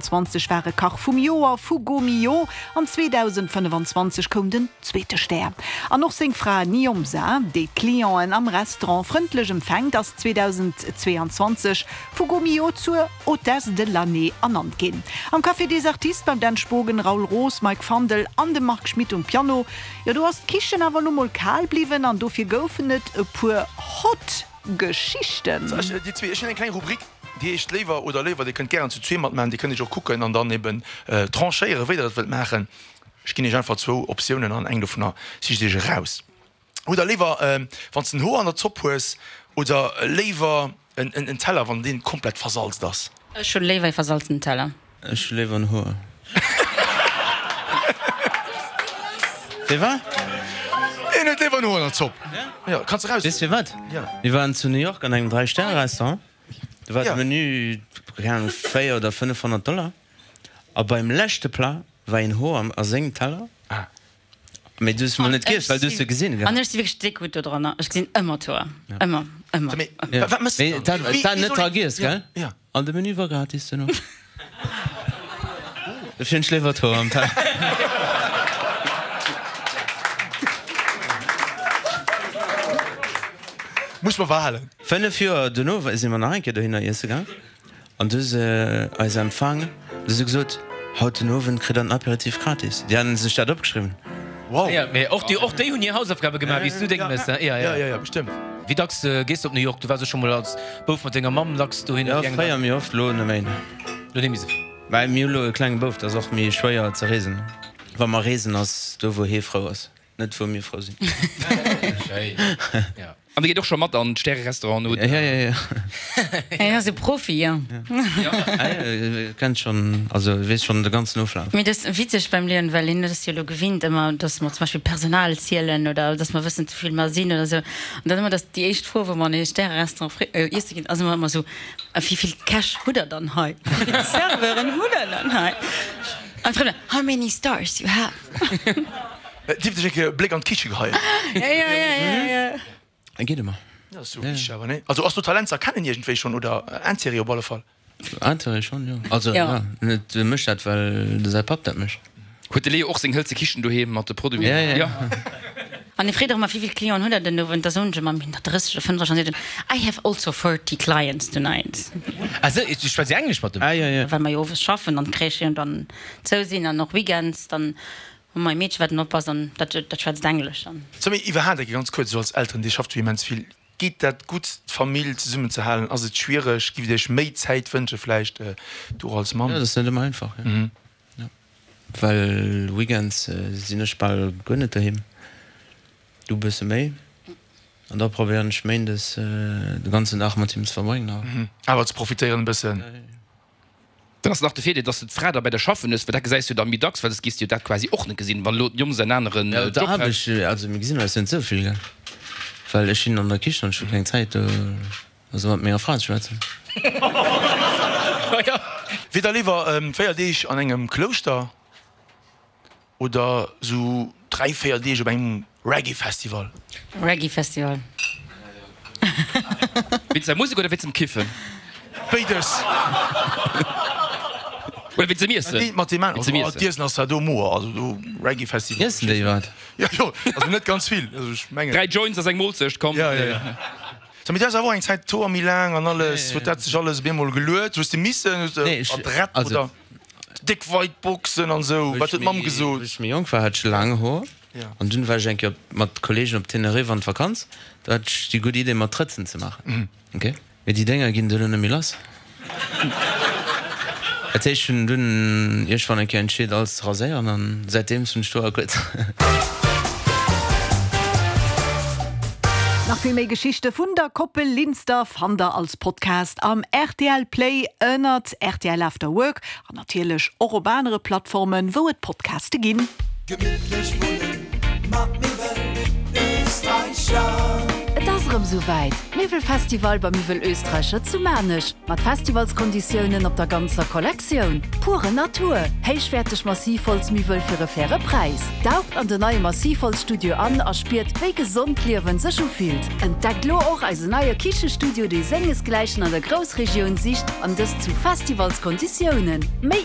20 war e Kach vum Joer vu Gault Millau an 2025 koum den zweete Stär. An och seng Fra Niomsa, déi d'Clienten am Restaurant frëndlech empfänkt, ass 2022 vu Gault Millau zur Hôtesse de l'année ernannt ginn. Am Café des Artistes beim Dan Spogen, Raoul Roos, Mike Fandel an dem Marc Schmitt um Piano, jo do ass d'Kichen awer lo mol kal bliwwen an dofir goufen et e puer hot Geschichten. Dir zwee, ech hunn eng kleng Rubrik. Déi heescht Léiwer oder Léiwer. Dir kënnt gären zu zwee matmaachen. Dir kënnt iech och kucken an dann eben tranchéieren, wéi der dat wëllt maachen. Ech ginn iech einfach zwou Optiounen an eng dovunner sicht iech eraus. Hutt der léiwer, wann s de en Hoer an der Zopp hues, oder léiwer en Teller, wann deen komplett versalzt ass? Ech hunn léiwer e versalzenen Teller. Ech hu léiwer en Hoer. Firwat? Een huet léiwer en Hoer an der Zopp. Jo, kanns de raus. Weess firwat? Mir waren zu New York an engem Dräi-Stäre-Restaurant. Do war de Menü, keng Ahnung, 4 oder 500 Dollar. A beim leschte Plat war een Hoer a sengem Teller. Mee du hues mol net giess, well du hues se gesinn, gell? An ech si wierklech déck gutt do dranner. Ech gesinn ëmmer d'Hoer. Ëmmer, ëmmer, ëmmer. Wat méchs de dann? Mee dat war net dra giess, gell? An de Menü war gratis duerno. Dofir hunn ech léiwer d'Hoer am Teller. Muss mer behalen. 5 Joer duerno si mer nach eng Kéier dohinner iesse gaang an du hu se eis empfaang. Du hu se gesot, Haut den Owend kritt der den Apéritif gratis. Déi haten sech dat opgeschriwwen. Wow. Jo, mee och déi, och déi hunn hir Hausaufgabe gemaach, wéi s du deng méchs, ne? Jo, jo. Jo, jo, bestëmmt. Wéi dacks gees de op New York? Du waars jo scho mol als Bouf mat denger Mamm dacks dohinner. Jo, fréier méi oft, lo net méi. Lo net méi sou vill. Mä mir hu lo e klenge Bouf, dat ass och méi schwéier ze reesen. Wa mer reesen, ass do wou hie frou ass, net wou mir frou sinn. Schéin, jo. An dir geet och scho mat an d'Stäre-Restauranten, oder? Ja, ja, ja. Hien ass e Profi, jo. Hie kennt schonn, also weess schonn de ganzen Oflaf. Mee dat ass witzeg beim Leon, well hien ass jo elo gewinnt ëmmer, dass mer zum Beispill Personal zielen oder dass mer wëssen, wéi vill mer sinn oder esou. An dann ëmmer, dass déi éischt Fro, wou mer an e Stäre-Restaurant iesse ginn, ass ëmmer ëmmer esou, A wéi vill Käch hutt der dann hei? Wéi vill Serveuren hutt der dann hei? An d'Frënn, How many stars you have? Dierft ech eng Kéier e Bléck an d'Kiche geheien? Ja, ja, ja, ja, ja. Geet ëmmer. Dat ass jo wichteg awer, nee? Also ass do Talent ze erkennen iergendwéi schonn oder Intérêt op alle Fall? Intérêt schonn, jo. Also Ja. ja, net mécht dat, well de säi Papp dat mécht. Huet de Leo och seng hëlze Kichen doheem mat de Produiten? Ja, ja. Ja. An e freet och ëmmer, Wéi vill Clienten hutt der den Owend? Da soen ech ëmmer, Mir hunn der 30 oder 35. An seet en, I have also 40 clients tonight. Ah sou, du schwätz Englesch mat dem? Ah, ja, ja. Well mer jo owes schaffen an d'Crèchen dann zou sinn an och Weekends, dann Hu mer e Meedche wat en oppass an dat dat schwätzt Englesch an. Sou, mee iwwerhaapt eng ganz kuerz, esou als Elteren, Dir schafft jo immens vill, geet dat gutt d'Famill zesummen ze halen? Ass et schwiereg? Giff Dir Iech méi Zäit wënsche vläicht, du och als Mamm? Jo, dat ass net ëmmer einfach, jo. Jo, well Weekends sinn ech bal guer net doheem, du e bësse méi, an da probéieren ech méindes de ganzen Dag mat him ze verbréngen awer. Awer ze profitéieren e bëssen. Dann ass nach de Virdeel, dass de d'Fra da bei der schaffen hues, well dat gesäis du da méi dacks, well soss géifs de jo dat quasi och net gesinn, wann elo d'Jong en aneren Job hätt. Aarbecht, also mir gesinn eis net esou vill, gell, well ech sinn an der Kichen an ech hu keng Zäit do also mat menger Fra ze schwätzen. Wier der léiwer 4 Deeg an engem Klouschter Oder sou 3, 4 Deeg op engem Reggae Festival. Reggae Festival. Wéinst der Musek oder wéinst dem Kiffen? Béides. Oder wéinst dem Iessen? Dat mat deem aneren. Also d'Iessen ass zwar do moer, also do Reggae Festival. Iessen déi wat? Jo jo, also net ganz vill, also ech mengen. 3 Joints ass eng Moolzecht, komm. Jo jo jo. Sou, mee du has awer och eng Zäit d'Hoer méi laang an alles, huet dat sech alles op eemol geluet? Hues de missen, hues de adrett oder? Déck weit Boxen an sou, wat huet d'Mamm gesot? Wéi ech méi jonk war, hat ech laang Hoer an dunn war ech eng Kéier mat Kollegen op Tenerife an d'Vakanz. Do hat ech déi gutt Idee mer Trëtzen ze maachen. Ok, mee déi Dénger ginn duerno net méi lass. Dat heescht, ech hunn dunn iergendwann eng Kéier entscheet alles ze raséieren an säitdeems hunn ech d'Hoer kuerz. Nach vill méi Geschichte vun der Koppel Linster fannt der als Podcast am rtl Play ënnert rtl After Work an natierlech och op anere Plattformen, wou et Podcaste ginn. Gemittlech wunnen mat Miwwel Österreicher. Et ass erëm sou wäit, Miwwelfestival bei Miwwel Österreicher zu Maarnech mat Festivalskonditiounen op der ganzer Kollektioun. Pure Natur, héichwäerteg Massivholzmiwwel fir e faire Präis. Daucht an den neie Massivholzstudio an a spiert, wéi gesond Liewen sech ufillt. Entdeckt lo och eisen neie Kichestudio, dee sengesgläichen an der Groussregioun sicht, an dëst zu Festivalskonditiounen. Méi.